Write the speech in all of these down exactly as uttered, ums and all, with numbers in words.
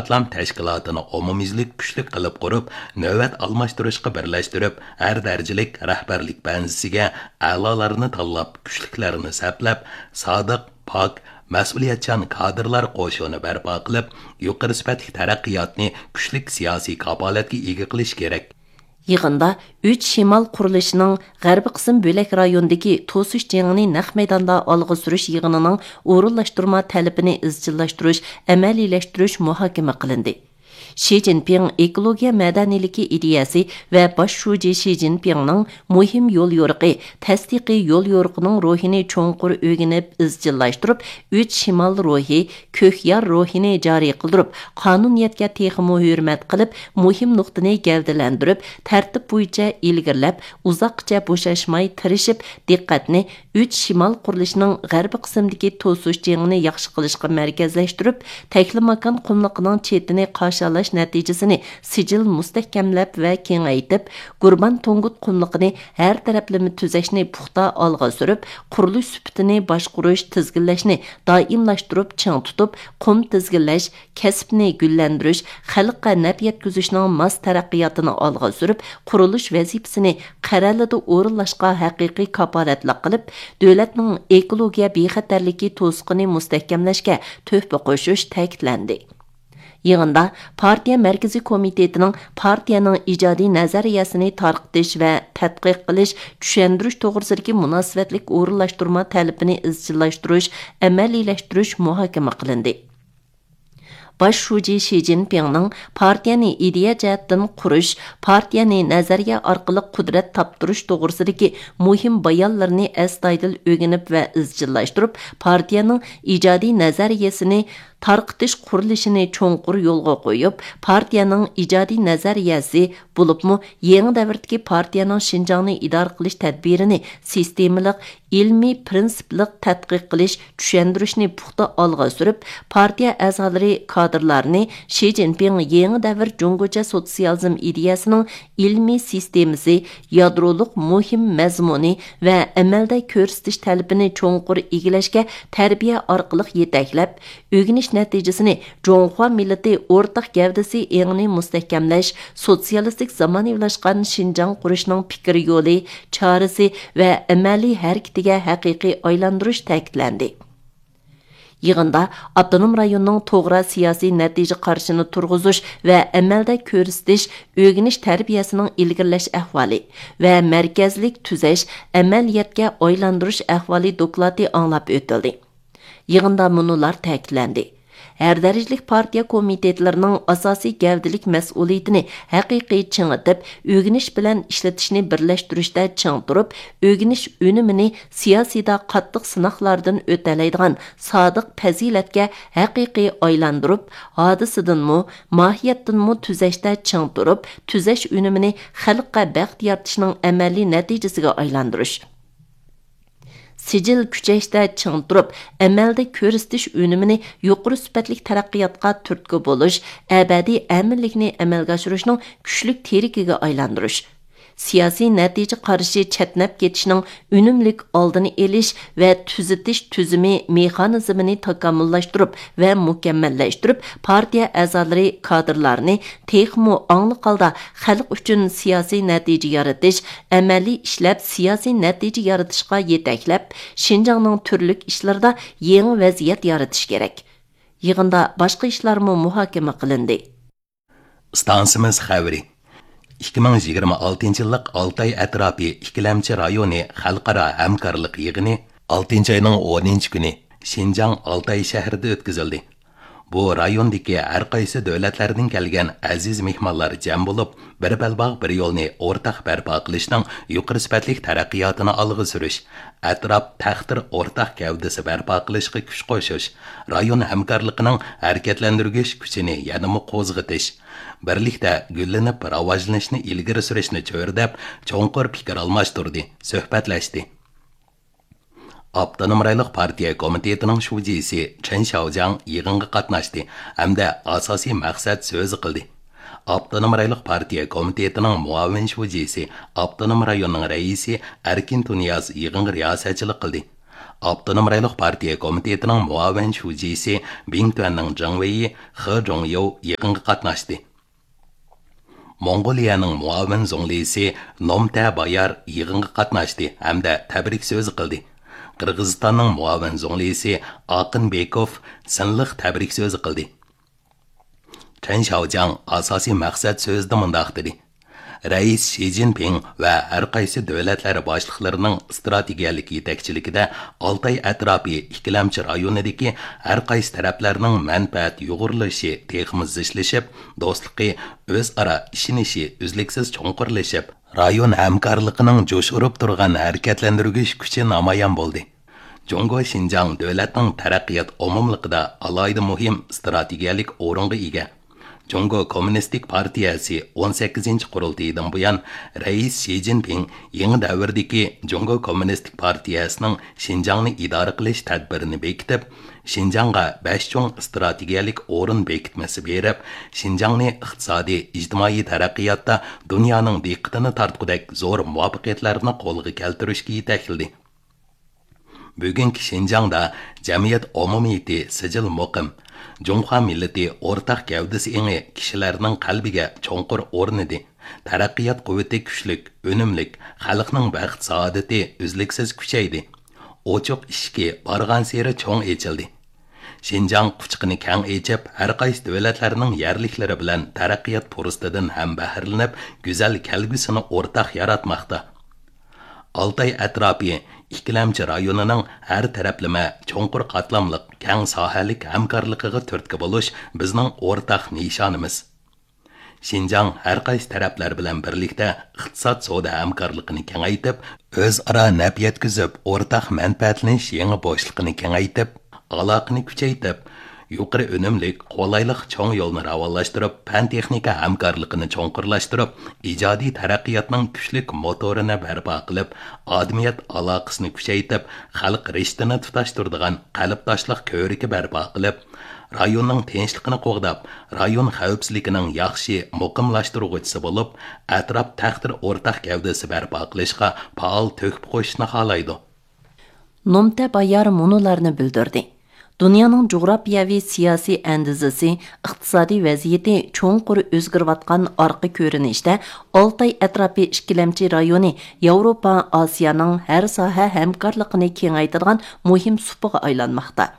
ئىسلام تەشكىلاتىنى ئومۇميۈزلۈك كۈچلۈك قىلىپ قۇرۇپ، نۆۋەت ئالماشتۇرۇشقا بىرلەشتۈرۈپ، ھەر دەرىجىلىك رەھبەرلىك بەنزىسىگە ئەلالارنى تاللاپ، كۈچلۈكلەرنى سەپلەپ، سادىق، پاك، مەسئۇلىيەتچان كادىرلار قوشۇنى بەرپا قىلىپ، يۇقىرى سۈپەتلىك تەرەققىياتنى كۈچلۈك سىياسىي كاپالەتكە ئىگە قىلىش كېرەك. يىغىندا ئۈچ شىمال قۇرۇلۇشىنىڭ غەربىي قىسىم بۆلەك رايونىدىكى توسۇش جېڭىنى نەق مەيداندا ئالغا سۈرۈش يىغىنىنىڭ ئورۇنلاشتۇرما تەلىپىنى ئىزچىللاشتۇرۇش، ئەمەلىيلەشتۈرۈش مۇھاكىمە قىلىندى. شى جىنپىڭ ئېكولوگىيە مەدەنىيلىكى ئىدىيەسى ۋە باش شۇجى شى جىنپىڭنىڭ مۇھىم يوليورۇقى، تەستىقىي يوليورۇقىنىڭ روھىنى چوڭقۇر ئۆگىنىپ ئىزچىللاشتۇرۇپ، ئۈچ شىمال روھى، كۆك يار روھىنى جارى قىلدۇرۇپ، قانۇنىيەتكە تېخىمۇ ھۆرمەت قىلىپ، مۇھىم نۇقتىنى گەۋدىلەندۈرۈپ، تەرتىپ بويىچە ئىلگىرىلەپ، ئۇزاققىچە بوشاشماي تىرىشىپ، دىققەتنى ئۈچ شىمال قۇرۇلۇشىنىڭ غەربىي قىسمىدىكى توسۇش جېڭىنى ياخشى قىلىشقا مەركەزلەشتۈرۈپ، تەكلىماكان قۇملۇقىنىڭ چېتىنى قاشالاش نەتىجىسىنى سىجىل مۇستەھكەملەپ ۋە كېڭەيتىپ، گۇربان تۇڭگۇت قۇملۇقىنى ھەر تەرەپلىمە تۈزەشنى پۇختا ئالغا سۈرۈپ، قۇرۇلۇش سۈپىتىنى باشقۇرۇش، تىزگىنلەشنى دائىملاشتۇرۇپ چىڭ تۇتۇپ، قۇم تىزگىنلەش، كەسىپنى گۈللەندۈرۈش، خەلققە نەپ يەتكۈزۈشنىڭ ماس تەرەققىياتىنى ئالغا سۈرۈپ، قۇرۇلۇش ۋەزىپىسىنى قەرەلىدە ئورۇنلاشقا ھەقىقىي كاپالەتلىك قىلىپ، دۆلەتنىڭ ئېكولوگىيە بىخەتەرلىكى توسۇقىنى مۇستەھكەملەشكە تۆھپە قوشۇش تەكىتلەندى. يىغىندا پارتىيە مەركىزىي كومىتېتىنىڭ پارتىيەنىڭ ئىجادىي نەزەرىيەسىنى تارقىتىش ۋە تەتقىق قىلىش، چۈشەندۈرۈش توغرىسىدىكى مۇناسىۋەتلىك ئورۇنلاشتۇرما تەلىپىنى ئىزچىللاشتۇرۇش، ئەمەلىيلەشتۈرۈش مۇھاكىمە قىلىندى. باش شۇجى شى جىنپىڭنىڭ پارتىيەنى ئىدىيە جەھەتتىن قۇرۇش، پارتىيەنى نەزەرىيە ئارقىلىق قۇدرەت تاپتۇرۇش توغرىسىدىكى مۇھىم بايانلىرىنى ئەستايىدىل ئۆگىنىپ ۋە ئىزچىللاشتۇرۇپ، پارتىيەنىڭ ئىجادىي نەزەرىيەسىنى تارقىتىش قۇرۇلۇشىنى چوڭقۇر يولغا قويۇپ، پارتىيەنىڭ ئىجادىي نەزەرىيەسى، بولۇپمۇ يېڭى دەۋردىكى پارتىيەنىڭ شىنجاڭنى ئىدارە قىلىش تەدبىرىنى سىستېمىلىق، ئىلمىي پىرىنسىپلىق تەتقىق قىلىش، چۈشەندۈرۈشنى پۇختا ئالغا سۈرۈپ، پارتىيە ئەزالىرى، كادىرلارنى شى جىنپىڭ يېڭى دەۋر جۇڭگوچە سوتسىيالىزم ئىدىيەسىنىڭ ئىلمىي سىستېمىسى، يادرولۇق مۇھىم مەزمۇنى ۋە ئەمەلدە كۆرسىتىش تەلىپىنى چوڭقۇر ئىگىلەشكە تەربىيە ئارقىلىق يېتەكلەپ، ئۆگىنىش نەتىجىسىنى جۇڭخۇا مىللىتى ئورتاق گەۋدىسى ئېڭىنى مۇستەھكەملەش، سوتسىيالىستىك زامانىۋىلاشقان شىنجاڭ قۇرۇشنىڭ پىكىر يولى، چارىسى ۋە ئەمەلىي ھەرىكىتىگە ھەقىقىي ئايلاندۇرۇش تەكىتلەندى. يىغىندا ئاپتونوم رايوننىڭ توغرا سىياسىي نەتىجە قارىشىنى تۇرغۇزۇش ۋە ئەمەلدە كۆرسىتىش، ئۆگىنىش تەربىيەسىنىڭ ئىلگىرىلەش ئەھۋالى ۋە مەركەزلىك تۈزەش، ئەمەلىيەتكە ئايلاندۇرۇش ئەھۋالى دوكلاتى ئاڭلاپ ئۆتۈلدى. يىغىندا مۇنۇلار تەكىتلەندى: ھەر دەرىجىلىك پارتىيە كومىتېتلىرىنىڭ ئاساسىي گەۋدىلىك مەسئۇلىيىتىنى ھەقىقىي چىڭىتىپ، ئۆگىنىش بىلەن ئىشلىتىشنى بىرلەشتۈرۈشتە چىڭ تۇرۇپ، ئۆگىنىش ئۈنۈمىنى سىياسىيدا قاتتىق سىناقلاردىن ئۆتەلەيدىغان سادىق پەزىلەتكە ھەقىقىي ئايلاندۇرۇپ، ھادىسىدىنمۇ، ماھىيەتتىنمۇ تۈزەشتە چىڭ تۇرۇپ، تۈزەش ئۈنۈمىنى خەلققە بەخت يارىتىشنىڭ ئەمەلىي نەتىجىسىگە ئايلاندۇرۇش. سىجىل كۈچەشتە چىڭ تۇرۇپ، ئەمەلدە كۆرسىتىش ئۈنۈمىنى يۇقىرى سۈپەتلىك تەرەققىياتقا تۈرتكە بولۇش، ئەبەدىي ئەمىنلىكنى ئەمەلگە ئاشۇرۇشنىڭ كۈچلۈك تىرىكىگە ئايلاندۇرۇش. سىياسىي نەتىجە قارىشى چەتنەپ كېتىشنىڭ ئۈنۈملۈك ئالدىنى ئېلىش ۋە تۈزىتىش تۈزۈمى مېخانىزمىنى تاكامۇللاشتۇرۇپ ۋە مۇكەممەللەشتۈرۈپ، پارتىيە ئەزالىرى، كادىرلارنى تېخىمۇ ئاڭلىق ھالدا خەلق ئۈچۈن سىياسىي نەتىجە يارىتىش، ئەمەلىي ئىشلەپ سىياسىي نەتىجە يارىتىشقا يېتەكلەپ، شىنجاڭنىڭ تۈرلۈك ئىشلىرىدا يېڭى ۋەزىيەت يارىتىش كېرەك. يىغىندا باشقا ئىشلارمۇ مۇھاكىمە قىلىندى. ئىستانسىمىز خەۋىرى. ئىككى مىڭ يىگىرمە ئالتىنچى يىللىق ئالتاي ئەتراپى ئىككىلەمچى رايونى خەلقئارا ھەمكارلىق يىغىنى ئالتىنچى ئاينىڭ ئونىنچى كۈنى شىنجاڭ ئالتاي شەھىرىدە ئۆتكۈزۈلدى. بۇ رايوندىكى ھەر قايسى دۆلەتلەردىن كەلگەن ئەزىز مېھمانلار جەم بولۇپ، بىر بەلباغ، بىر يولنى ئورتاق بەرپا قىلىشنىڭ يۇقىرى سۈپەتلىك تەرەققىياتىنى ئالغا سۈرۈش، ئەتراپ تەختىر ئورتاق گەۋدىسى بەرپا قىلىشقا كۈچ قوشۇش، رايون ھەمكارلىقىنىڭ ھەرىكەتلەندۈرگۈچ كۈچىنى يەنىمۇ قوزغىتىش، بىرلىكتە گۈللىنىپ راۋاجلىنىشنى ئىلگىرى سۈرۈشنى چۆرىدەپ، چوڭقۇر پىكىر ئالماشتۇردى، سۆھبەتلەشتى. ئاپتونوم رايونلۇق پارتىيە كومىتېتىنىڭ شۇجىسى چېن شياۋجياڭ يىغىنغا قاتناشتى ھەمدە ئاساسىي مەقسەت سۆزى قىلدى. ئاپتونوم رايونلۇق پارتىيە كومىتېتىنىڭ مۇئاۋىن شۇجىسى، ئاپتونوم رايوننىڭ رەئىسى ئەركىن تۇنىياز يىغىنغا رىياسەتچىلىك قىلدى. ئاپتونوم رايونلۇق پارتىيە كومىتېتىنىڭ مۇئاۋىن شۇجىسى بىڭتۈەننىڭ جېڭ ۋېيى خې جوڭيوۋ يىغىنغا قاتناشتى. موڭغۇلىيەنىڭ مۇئاۋىن زۇڭلىسى نومتە بايار يىغىنغا قاتناشتى ھەمدە تەبرىك سۆزى قىلدى. قىرغىزىستاننىڭ مۇئاۋىن زۇڭلىسى ئاقىن بېكوف سىنلىق تەبرىك سۆزى قىلدى. چەن شياۋجياڭ ئاساسىي مەقسەت سۆزىدە مۇنداق دېدى: رەئىس شى جىنپىڭ ۋە ھەر قايسى دۆلەتلەر باشلىقلىرىنىڭ ئىستراتېگىيەلىك يېتەكچىلىكىدە ئالتاي ئەتراپى ئىككىلەمچى رايونىدىكى ھەر قايسى تەرەپلەرنىڭ مەنپەئەت يۇغۇرۇلۇشى تېخىمۇ زىچلىشىپ، دوستلۇقى، ئۆزئارا ئىشىنىشى ئۈزلۈكسىز چوڭقۇرلىشىپ، رايون ھەمكارلىقىنىڭ جۇش ئۇرۇپ تۇرغان ھەرىكەتلەندۈرگۈچ كۈچى نامايان بولدى. جۇڭگو شىنجاڭ دۆلەتنىڭ تەرەققىيات ئومۇملۇقىدا ئالاھىدە مۇھىم ئىستراتېگىيەلىك ئورۇنغا ئىگە. جۇڭگو كوممۇنىستىك پارتىيەسى ئون سەككىزىنچى قۇرۇلتىيىدىن بۇيان، رەئىس شى جىنپىڭ يېڭى دەۋردىكى جۇڭگو كوممۇنىستىك پارتىيەسىنىڭ شىنجاڭنى ئىدارە قىلىش تەدبىرىنى بېكىتىپ، شىنجاڭغا بەش چوڭ ئىستراتېگىيەلىك ئورۇن بېكىتمىسى بېرىپ، شىنجاڭنى ئىقتىسادىي، ئىجتىمائىي تەرەققىياتتا دۇنيانىڭ دىققىتىنى تارتقۇدەك زور مۇۋەپپەقىيەتلەرنى قولغا كەلتۈرۈشكە يېتەكلىدى. بۈگۈنكى شىنجاڭدا جەمئىيەت ئومۇمىيىتى سىجىل مۇقىم، جۇڭخۇا مىللىتى ئورتاق گەۋدىسى ئېڭى كىشىلەرنىڭ قەلبىگە چوڭقۇر ئورنىدى، تەرەققىيات قۇۋۋىتى كۈچلۈك، ئۈنۈملۈك، خەلقنىڭ بەخت-سائادىتى ئۈزلۈكسىز كۈچەيدى. ئوچۇق ئىشىكى بارغانسېرى چوڭ ئېچىلدى. شىنجاڭ قۇچىقىنى كەڭ ئېچىپ، ھەر قايسى دۆلەتلەرنىڭ يەرلىكلىرى بىلەن تەرەققىيات پۇرسىتىدىن ھەم بەھرىلىنىپ، گۈزەل كەلگۈسىنى ئورتاق ياراتماقتا. ئالتاي ئەتراپى ئىككىلەمچى رايونىنىڭ ھەر تەرەپلىمە، چوڭقۇر قاتلاملىق، كەڭ ساھەلىك ھەمكارلىقىغا تۈرتكە بولۇش بىزنىڭ ئورتاق نىشانىمىز. شىنجاڭ ھەر قايسى تەرەپلەر بىلەن بىرلىكتە ئىقتىساد سودا ھەمكارلىقىنى كېڭەيتىپ، ئۆزئارا نەپ يەتكۈزۈپ، ئورتاق مەنپەئەتلىنىش يېڭى بوشلۇقىنى كېڭەيتىپ، ئالاقىنى كۈچەيتىپ، يۇقىرى ئۈنۈملۈك، قولايلىق چوڭ يولنى راۋانلاشتۇرۇپ، پەن-تېخنىكا ھەمكارلىقىنى چوڭقۇرلاشتۇرۇپ، ئىجادىي تەرەققىياتنىڭ كۈچلۈك موتورىنى بەرپا قىلىپ، ئادەمىيەت ئالاقىسىنى كۈچەيتىپ، خەلق رىشتىنى تۇتاشتۇرىدىغان قەلبداشلىق كۆۋرۈكى بەرپا قىلىپ، رايوننىڭ تىنچلىقىنى قوغداپ، رايون خەۋپسىزلىكىنىڭ ياخشى مۇقىملاشتۇرغۇچىسى بولۇپ، ئەتراپ تەقدىر ئورتاق گەۋدىسى بەرپا قىلىشقا پائال تۆھپە قوشۇشنى خالايدۇ. نومتە بايار مۇنۇلارنى بىلدۈردى: دۇنيانىڭ جۇغراپىيەۋى سىياسىي ئەندىزىسى، ئىقتىسادىي ۋەزىيىتى چوڭقۇر ئۆزگىرىۋاتقان ئارقا كۆرۈنۈشتە، ئالتاي ئەتراپى ئىككىلەمچى رايونى ياۋروپا، ئاسىيانىڭ ھەر ساھە ھەمكارلىقىنى كېڭەيتىدىغان مۇھىم سۇپىغا ئايلانماقتا.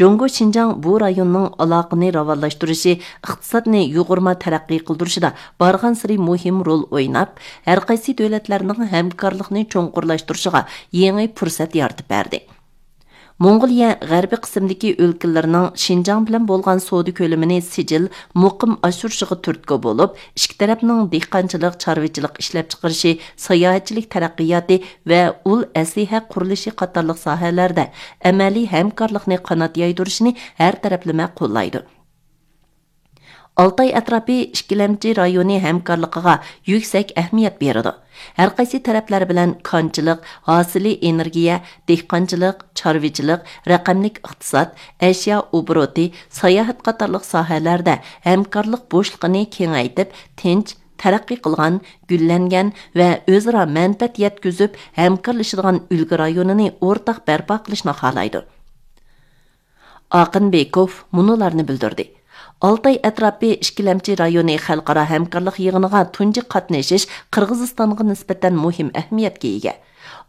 جۇڭگو شىنجاڭ بۇ رايوننىڭ ئالاقىنى راۋانلاشتۇرۇشى، ئىقتىسادنى يۇغۇرما تەرەققىي قىلدۇرۇشىدا بارغانسېرى مۇھىم رول ئويناپ، ھەرقايسى دۆلەتلەرنىڭ ھەمكارلىقنى چوڭقۇرلاشتۇرۇشىغا يېڭى پۇرسەت يارىتىپ بەردى. موڭغۇلىيە غەربىي قىسىمدىكى ئۆلكىلىرىنىڭ شىنجاڭ بىلەن بولغان سودا كۆلىمىنى سىجىل، مۇقىم ئاشۇرۇشىغا تۈرتكە بولۇپ، ئىككى تەرەپنىڭ دېھقانچىلىق، چارۋىچىلىق ئىشلەپچىقىرىشى، ساياھەتچىلىك تەرەققىياتى ۋە ئۇل ئەسلىھە قۇرۇلۇشى قاتارلىق ساھەلەردە ئەمەلىي ھەمكارلىقنى قانات يايدۇرۇشىنى ھەر تەرەپلىمە قوللايدۇ. ئالتاي ئەتراپى ئىككىلەمچى رايونى ھەمكارلىقىغا يۈكسەك ئەھمىيەت بېرىدۇ. ھەرقايسى تەرەپلەر بىلەن كانچىلىق، ھاسىلى ئېنېرگىيە، دېھقانچىلىق، چارۋىچىلىق، رەقەملىك ئىقتىساد، ئەشيا ئوبوروتى، ساياھەت قاتارلىق ساھەلەردە ھەمكارلىق بوشلۇقىنى كېڭەيتىپ، تىنچ، تەرەققىي قىلغان، گۈللەنگەن ۋە ئۆزئارا مەنپەئەت يەتكۈزۈپ ھەمكارلىشىدىغان ئۈلگە رايونىنى ئورتاق بەرپا قىلىشنى خالايدۇ. ئاقىن بېكوف مۇنۇلارنى بىلدۈردى: ئالتاي ئەتراپى ئىككىلەمچى رايونى خەلقئارا ھەمكارلىق يىغىنىغا تۇنجى قاتنىشىش قىرغىزىستانغا نىسبەتەن مۇھىم ئەھمىيەتكە ئىگە.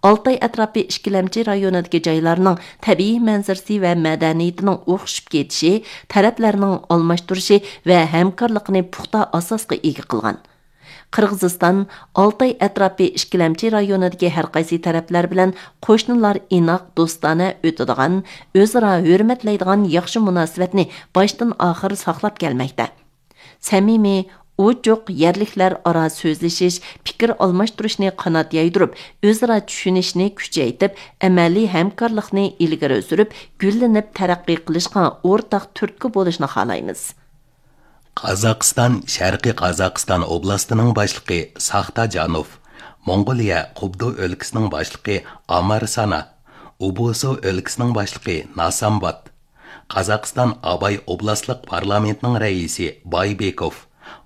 ئالتاي ئەتراپى ئىككىلەمچى رايونىدىكى جايلارنىڭ تەبىئىي مەنزىرىسى ۋە مەدەنىيىتىنىڭ ئوخشىشىپ كېتىشى تەرەپلەرنىڭ ئالماشتۇرۇشى ۋە ھەمكارلىقىنى پۇختا ئاساسقا ئىگە قىلغان. قىرغىزىستان ئالتاي ئەتراپى ئىككىلەمچى رايونىدىكى ھەرقايسى تەرەپلەر بىلەن قوشنىلار ئىناق، دوستانە ئۆتىدىغان، ئۆزئارا ھۆرمەتلەيدىغان ياخشى مۇناسىۋەتنى باشتىن ئاخىر ساقلاپ كەلمەكتە. سەمىمىي، ئوچۇق يەرلىكلەر ئارا سۆزلىشىش، پىكىر ئالماشتۇرۇشنى قانات يايدۇرۇپ، ئۆزئارا چۈشىنىشنى كۈچەيتىپ، ئەمەلىي ھەمكارلىقنى ئىلگىرى سۈرۈپ، گۈللىنىپ تەرەققىي قىلىشقا ئورتاق تۈرتكە بولۇشنى خالايمىز. قازاقىستان شەرقىي قازاقىستان ئوبلاستىنىڭ باشلىقى ساختا جانوف، موڭغۇلىيە قۇبدۇ ئۆلكىسىنىڭ باشلىقى ئامار سانا، ئۇبۇسۇ ئۆلكىسىنىڭ باشلىقى ناسامبات، قازاقىستان ئاباي ئوبلاستلىق پارلامېنتىنىڭ رەئىسى بايبېكوف،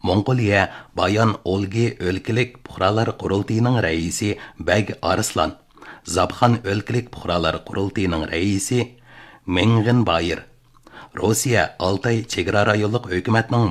موڭغۇلىيە بايان ئولگى ئۆلكىلىك پۇقرالار قۇرۇلتىيىنىڭ رەئىسى بەگ ئارسلان، زاپخان ئۆلكىلىك پۇقرالار قۇرۇلتىيىنىڭ رەئىسى مېڭغېن بايېر، روسىيە ئالتاي چېگرا رايونلۇق ھۆكۈمەتنىڭ